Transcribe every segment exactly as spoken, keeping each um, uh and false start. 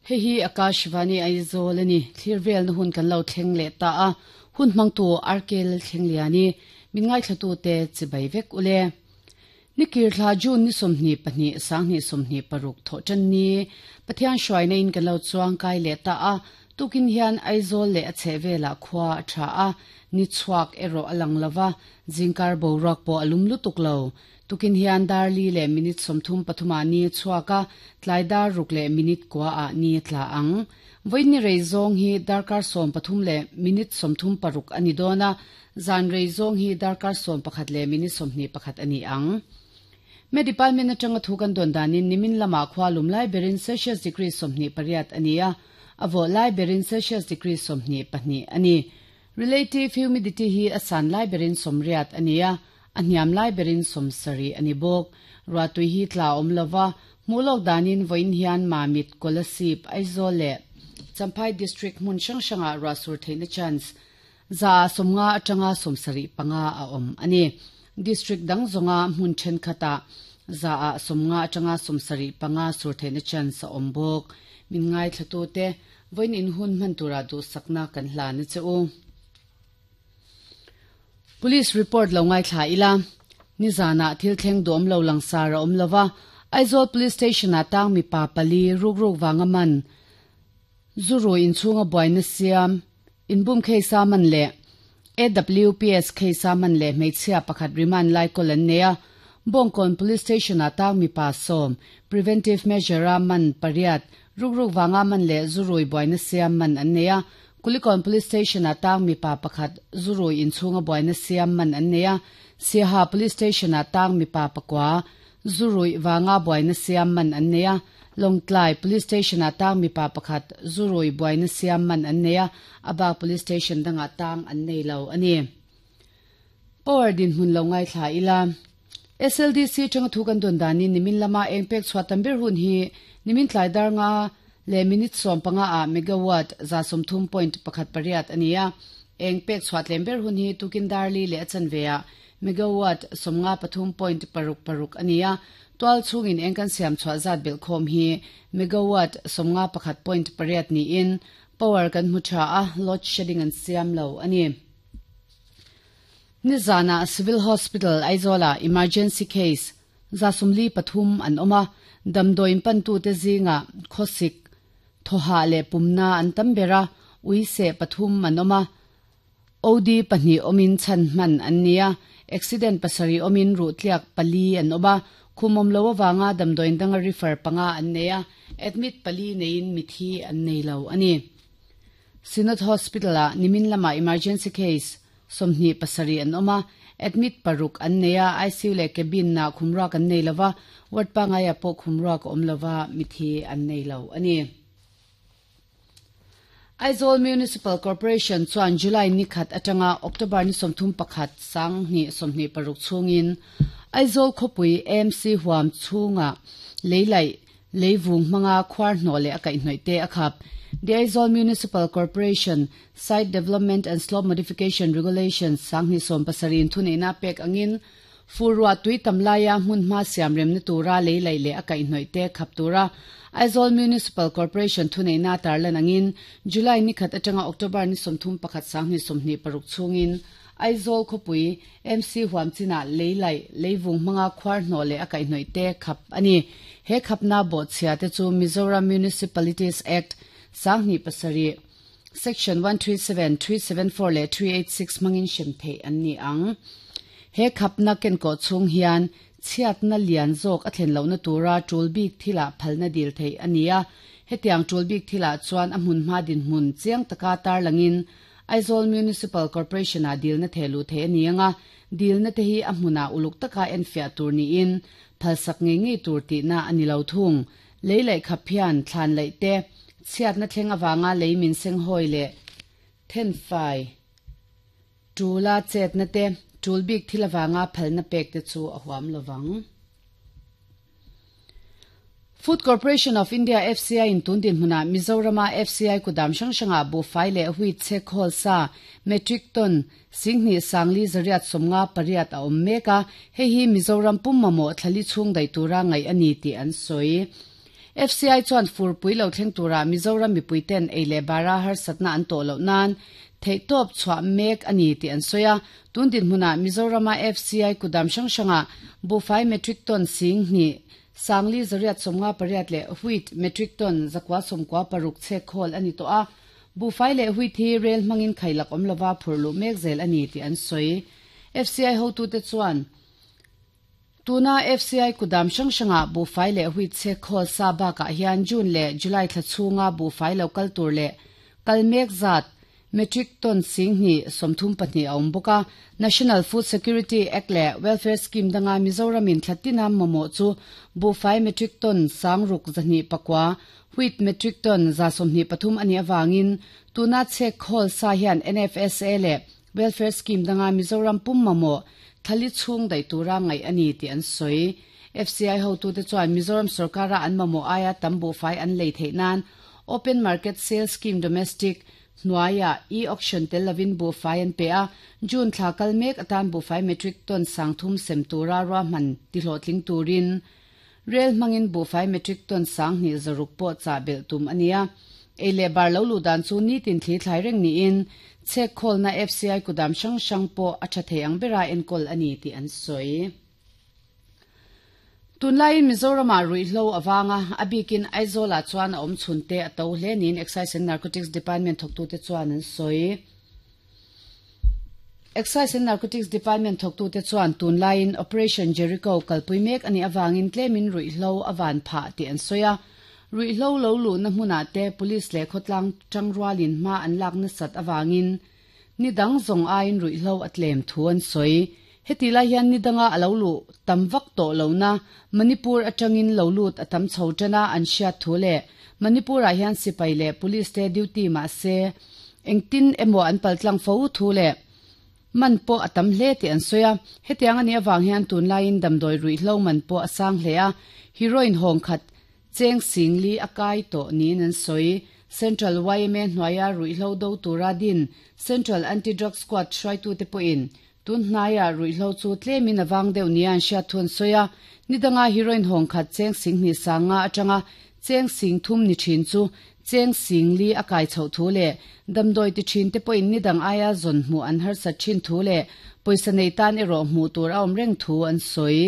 Hei hi Akashvani Aizawl a ni. Thlir velna hun kan lo thleng leh ta a, hun hmangtu Arkel Thlengliani, min ngaithlatute chibai vek ule. Nikir thla June ni sawmhnih pahnih sanghnih sawmhnih paruk thawh tan ni Pathian hruaina in kan lo chuang kai leh ta a, tukin hian Aizawl leh a chheh velah khua a tha a, ni chhuak erawh a lang lova, zingkar boruak pawh a lum lutuk lo. Tukin hian darli leh minute sawmthum pathuma ni chhuak a, tlai dar ruk leh minute kua ah ni tla ang. Vawiin ni rei zawng hi darkar sawm pathum leh minute sawmthum paruk a ni dawn a, zan rei zawng hi darkar sawm pakhat leh minute sawmhnih pakhat a ni ang. Me department atanga thu kan dawn danin nimin lamah khua lum lai berin Celsius degree sawmhnih pariat a ni a, a vawh lai berin Celsius degree sawmhnih pahnih a ni. Relative humidity hi a san lai berin sawmriat a ni a, a hniam lai berin sawmsarih a ni bawk. Ruahtui hi tla awm lova, hmuh lawk danin vawiin hian Mamit, Kolasib, Aizawl leh Champhai district hmun hrang hrangah ruah sur theihna chance za sawmnga atanga sawmsarih panga a awm a ni. District dang zawnga hmun thenkhatah za ah sawmnga atanga sawmsarih panga sur theihna chance a awm bawk. Min ngaithlatute vawiin in hun hman tura duhsakna kan hlan a che u. Police report lo ngaithla ila, nizanah thil thleng duhawm lo langsar a awm lova, Aizawl Police Station ah tang mipa pali ruk ruk vanga man, zuru inchhunga buaina siam, inbum case a man leh A W P S case a man leh hmeichhia pakhat remand lai kawl an nei a. Bawngkawn Police Station ah tang mipa sawm, preventive measure a man pariat, ruk ruk vanga man leh zurui buaina siam man an nei a. Kulikawn Police Station ah tang mipa pakhat zurui inchhunga buaina siam man an nei a. Siaha Police Station ah tang mipa pakua zurui vanga buaina siam man an nei a. Lawngtlai Police Station ah tang mipa pakhat zurui buaina siam man an nei a, a bak Police Station dangah tang an nei lo a ni. Power dinhmun lo ngaithla ila. S L D C atanga thu kan dawn danin nimin lama eng pek chhuah tam ber hun hi nimin tlai dar nga leh minute sawm panga ah megawatt za sawmthum point pakhat pariat a ni a. Eng pek chhuah tlem ber hun hi tukin darli leh a chanve ah megawatt sawmnga pathum point paruk paruk a ni a. Tual chhungin eng kan siam chhuah zat belhkhawm hi megawatt sawmnga pakhat point pariat niin power kan hmu tha a, load shedding an siam lo a ni. Nizanah Civil Hospital Aizawlah emergency case za sawmli pathum an awm a, damdawiin pantute zingah khawsik, thawhah leh pumna an tam ber a, uiseh pathum an awm a, O D pahnih awmin chhan hman an ni a, accident pasarih awmin ruhtliak pali an awm a, khum awm lo avanga damdawiin danga refer panga an nei a, admit pali neiin mithi an nei lo a ni. Synod Hospital-ah nimin lamah emergency case sawmhnih pasarih an awm a, admit paruk an nei a, I C U leh cabin-ah khumruak an nei lova, ward pangaiah pawh khumruak a awm lova, mithi an nei lo a ni. Aizawl Municipal Corporation chuan July ni khat atanga October ni sawmthum pakhat sanghnih sawmhnih paruk chhungin Aizawl khawpui A M C huam chhunga leilaih leivung hmanga khuar hnawh leh a kaihhnawih te a khap. The Aizawl Municipal Corporation Site Development and Slope Modification Regulations sanghnih sawm pasarih thuneihna pek angin furruah tui tam laia hmun hma siam remna tura leilaih leh a kaihhnawih te khap tura Aizawl Municipal Corporation thuneihna tarlan angin July ni khat atanga October ni sawmthum pakhat sanghnih sawmhnih paruk chhungin Aizawl khawpui M C huam chinah leilaih leivung hmanga khuar hnawh leh a kaihhnawih te khap a ni. He khapna bawhchhia te chu Mizoram Municipalities Act sanghnih pasarih Section one three seven, three seven four leh three eight six hmangin hrem theih an ni ang. He khapna kenkawh chhung hian chhiatna lian zawk a thlen lohna tura tul bik thilah phalna dil theih a ni a. Hetiang tul bik thilah chuan a hmun hma dinhmun chiang taka tarlangin Aizawl Municipal Corporation-ah dilna thehluh theih a ni anga, dilna te hi a hmunah uluk taka enfiah tur niin phalsak ngei ngei tur tihna a ni lo thung. Lei laih khap hian thlan laih te, chhiatna thleng avanga lei min senghawi leh thenfai tula chetna te, tul bik thil avanga phalna pek te chu a huam lovang. Food Corporation of India F C I in tun dinhmunah Mizorama F C I kudam hrang hrangah buhfai leh wheat che khawl sa metric ton singhnih sangli zariat sawmnga pariat a awm mek a, hei hi Mizoram pum mamawh thlali chhung daih tura ngaih a ni tih an sawi. F C I chuan furpui lo thleng tura Mizoram mipui ten ei leh bara harsatna an tawh loh nan theihtawp chhuah mek a ni tih an sawi a. Tun dinhmuna Mizorama F C I kudam hrang hranga buhfai metric ton sing hnih sangli zariat sawmnga pariat leh wheat metric ton zakua sawmkua paruk chhek khawl a ni tawh a. Buhfai leh wheat hi rel hmangin khailak awm lova phurluh mek zel a ni tih an sawi. F C I hotute chuan tuna F C I kudam hrang hranga buhfai leh wheat chhek khawl sa bakah hian June leh July thla chhunga buhfai lo kal tur leh kal mek zat metric ton sing hnih sawmthum pahnih a awm bawk a. National Food Security Act leh Welfare Scheme danga Mizoramin thlatina mamawh chu buhfai metric ton sangruk zahnih pakua wheat metric ton za sawmhnih pathum a nih awangin tuna chhek khawl sa hian N F S A leh Welfare Scheme danga Mizoram pum mamawh thali chhung daih tura ngaih a ni tih an sawi. F C I hotute chuan Mizoram sarkara an mamawh aia tam buhfai an lei theih nan Open Market Sales Scheme Domestic hnuaia e-auction tel lovin buhfai an pe a. June thla kal mek atan buhfai metric ton sangthum sem tura ruahman tihlawhtling turin rel hmangin buhfai metric ton sang hnih zaruk pawh chah belh tum a ni a. Ei leh bar lo luh dan chu nitin thli thlai reng niin chhek khawlna F C I kudam hrang hrang pawh a tha thei ang bera enkawl a ni tih an sawi. Tunlaiin Mizorama ruihhlo awanga a bikin Aizawl ah chuan a awm chhunte a to hle niin Excise and Narcotics Department thawktute chuan an sawi. Excise and Narcotics Department thawktute chuan tunlaiin Operation Jericho kalpui mek ani awangin tlemin ruihhlo awan phah tih an sawi a. Ruihhlo lo luhna hmunah te police leh khawtlang tangrualin hma an lakna sat awangin ni dang zawng aiin ruihhlo a tlem thu an sawi. Heti lai hian ni danga a lo luh tam vak tawh lo na Manipur atangin lo lut a tam chho tana an hriat thu leh Manipur ah hian sipai leh police te duty mah se engtin emaw an paltlang fo thu leh man pawh a tam hle tih an sawi a. Hetiang ani awang hian tunlaiin damdawi ruihhlo man pawh a sang hle a. Heroin hawng khat cheng singli a kai tawh niin an sawi. Central Y M A hnuaia ruihhlo do tura din Central Anti-Drug Squad hruaitute pawhin tun hnaia ruihhlo chu tlemin awang deuh nia an hriat thu an sawi a. Ni danga heroin hawng khat cheng sing hnih sanga atanga cheng sing thum ni thin chu cheng sing li a kai chho thu leh damdawi ti thin te pawhin ni dang aia zawn hmuh an harsat thin thu leh pawisa nei tan erawh hmuh tur a awm reng thu an sawi.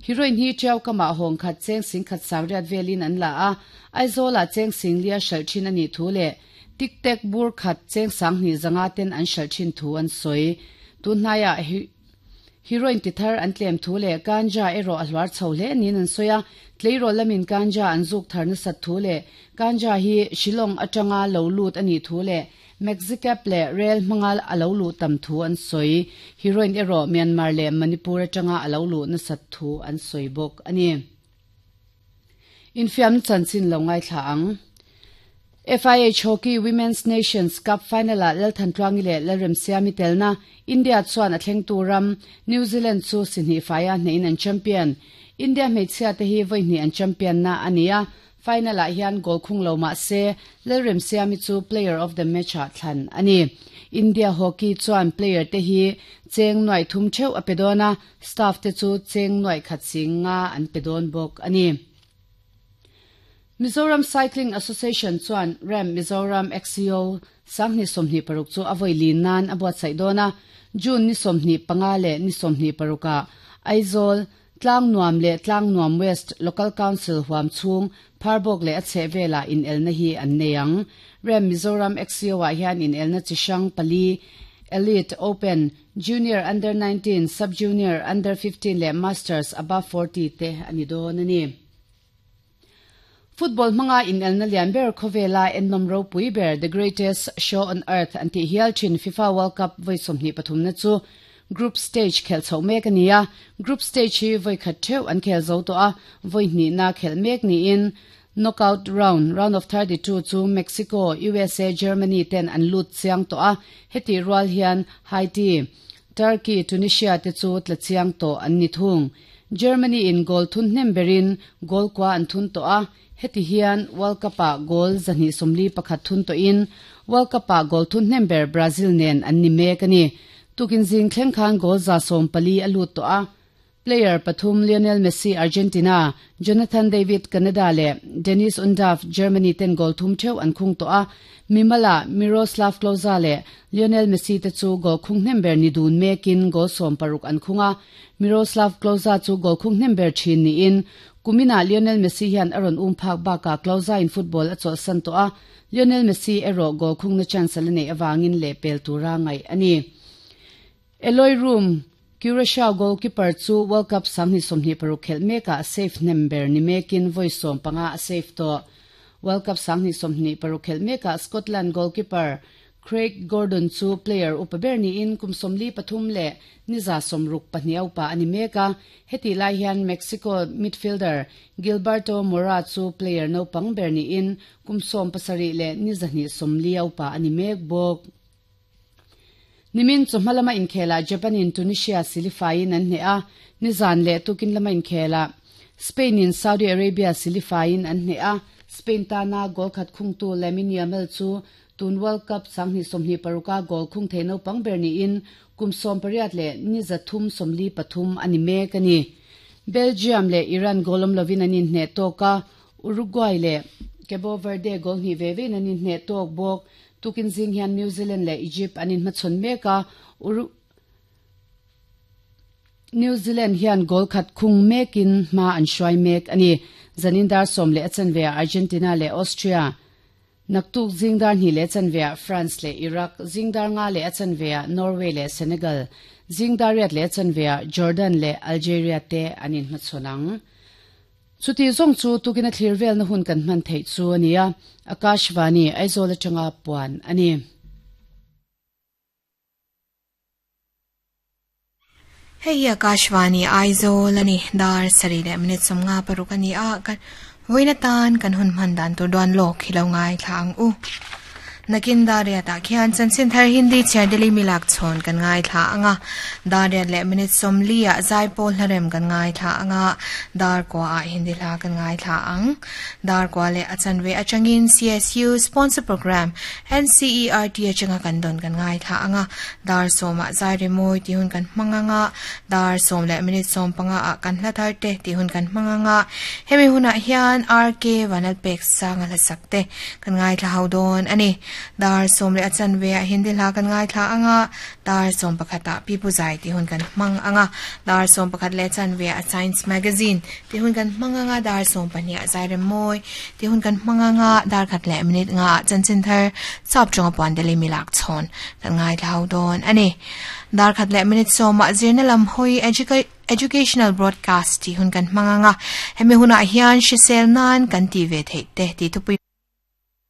Heroin hi tiau kama hawng khat cheng sing khat sangriat velin an la a. Aizawl ah cheng sing lia hralh thin ani thu leh tik tek bur khat cheng sang hnih zanga ten an hralh thin thu an sawi. Tun hnaia heroin ti thar an tlem thu leh ganja erawh a hluar chho hle niin an sawi a. Tleirawl lamin ganja an zuk tharna sat thu leh ganja hi Shillong atanga lo lut ani thu leh Mexicap leh rel hmangal a lo luh tam thu an sawi. Heroin erawh Myanmar leh Manipur atanga a lo luhna sat thu an sawi bawk ani. Infiam chanchin lo ngai thla ang. F I H Hockey Women's Nations Cup final ah Lalthantluangi leh Lalremsiami telna India chuan a thleng turam New Zealand chu sihnih faia hnehin an champion. India hmeichhia te hi vawi hnih an champion na ani a. Final ah hian goal khung lo mah se Lalremsiami chu player of the match ah thlan ani. India hockey chuan player te hi cheng nuai thum theuh a pe dawn a, staff te chu cheng nuai khat sing nga an pe dawn bawk ani. Mizoram Cycling Association chuan Ram Mizoram X C O sanghnih sawmhnih paruk chu a vawi lin nan a buatsaih dawn a. June ni sawmhnih panga leh ni sawmhnih parukah Aizawl Tlang Nuam leh Tlang Nuam West Local Council huam chhung Pharbawk leh a chheh velah in elna hi an nei ang. Ram Mizoram X C O ah hian in elna chi hrang pali Elite Open, Junior Under nineteen, Sub-Junior Under fifteen leh Masters Above forty te ani dawn ani. Football hmanga in elna lian ber khawvela ennom ropui ber The Greatest Show on Earth an tih hial thin FIFA World Cup vawi sawmhnih pathumna chu group stage khel chho mek ani a. Group stage hi vawi khat theuh an khel zo tawh a, vawi hnihna khel mek niin knockout round, round of thirty-two chu Mexico, U S A, Germany ten an lut chiang tawh a. Heti rual hian Haiti, Turkey, Tunisia te chu tla chiang tawh an ni thung. Germany in goal thun hnem berin goal kwa an thun tawh a. Heti hian World Cup ah goal zahnih sawmli pakhat thun tawhin World Cup ah goal thun hnem ber Brazil nen an ni mek ani. Tukin zing thleng khan goal za sawm pali a lut tawh a. Player pathum Lionel Messi Argentina, Jonathan David Canada leh Deniz Undav Germany ten goal thum theuh an khung tawh a. Mimala Miroslav Klose leh Lionel Messi te chu goal khung hnem ber ni dun mekin goal sawm paruk an khung a. Miroslav Klose chu goal khung hnem ber thin niin kumina Lionel Messi hian a rawn um phak bakah Klose in football a chawlhsan tawh a. Lionel Messi erawh goal khungna chance a la neih avangin leh pel tura ngaih a ni. Eloy Room Curacao goalkeeper chu World Cup sanghnih sawmhnih paruk khelh mekah save hnem ber ni mekin vawi sawm panga a save tawh. World Cup sanghnih sawmhnih paruk khelh mekah Scotland goalkeeper Craig Gordon chu player upa ber niin kum sawmli pathum leh niza sawmruk pahnih a upa a ni mek a. Heti lai hian Mexico midfielder Gilberto Mora chu player naupang ber niin kum sawm pasarih leh nizahnih sawmli a upa a ni mek bawk. Nimin chawhma lama inkhelah Japan in Tunisia silifaiin an hneh a, nizan leh tukin lama inkhelah Spain in Saudi Arabia silifaiin an hneh a. Spain tana goal khat khungtu Lamine Yamal chu tun World Cup sanghnih sawmhnih paruka goal khung thei naupang ber niin kum sawm pariat leh niza thum sawmli pathum a ni mek a ni. Belgium leh Iran goal awm lovin an inhneh tawk a, Uruguay leh Cabo Verde goal hnih ve vein an inhneh tawk bawk. Tukin zing hian New Zealand leh Egypt an inhmachhawn mek a, New Zealand hian goal khat khung mekin hma an hruai mek a ni. Zanin dar sawm leh a chanveah Argentina leh Austria, naktuk zing dar hnih leh a chanveah France leh Iraq, zing dar nga leh a chanveah Norway leh Senegal, zing dar riat leh a chanveah Jordan leh Algeria te an inhmachhawn ang. Chuti zawng chu tukin a thlir velna hun kan hman theih chu a ni a, Akashvani, Aizawl atanga puan a ni. Hei hi Akashvani, Aizawl a ni. Dar sarih leh minute sawmnga paruk a ni a, kan vawiin atan kan hun hman dan tur duan lawk hi lo ngaithla ang u. Nakin Dariat ah khian chanchin thar Hindi chhiar Delhi milak chhawn kan ngaithla ang a, Dariat leh minute sawmli ah Zaipawl hlarem kan ngaithla ang a, Darkua ah Hindi hla kan ngaithla ang. Darkua leh a chanve atangin C S U sponsor program N C E R T atanga kan dawn kan ngaithla ang a, Dar sawm ah Zai Rimawi tih hun kan hmang ang a, Dar sawm leh minute sawm panga ah kan hla thar te tih hun kan hmang ang a, hemi hunah hian R K Vanlalpek Sanga hlasak te kan ngaithla ho dawn a ni. Dar sawm leh a chanve ah Hindi hla kan ngaithla ang a, dar sawm pakhat ah Pipu Zai tih hun kan hmang ang a, dar sawm pakhat leh a chanve ah Science Magazine tih hun kan hmang ang a, dar sawm pahnih ah Zai Rem Mawi tih hun kan hmang ang a, dar khat leh minute nga ah chanchin thar sap tawnga puan Delhi milak chhawn kan ngaithla ho dawn a ni. Dar khat leh minute sawm ah zirna lam hawi Educational Broadcast tih hun kan hmang ang a, hemi hunah hian hrisel nan kan ti ve theih te tih thupui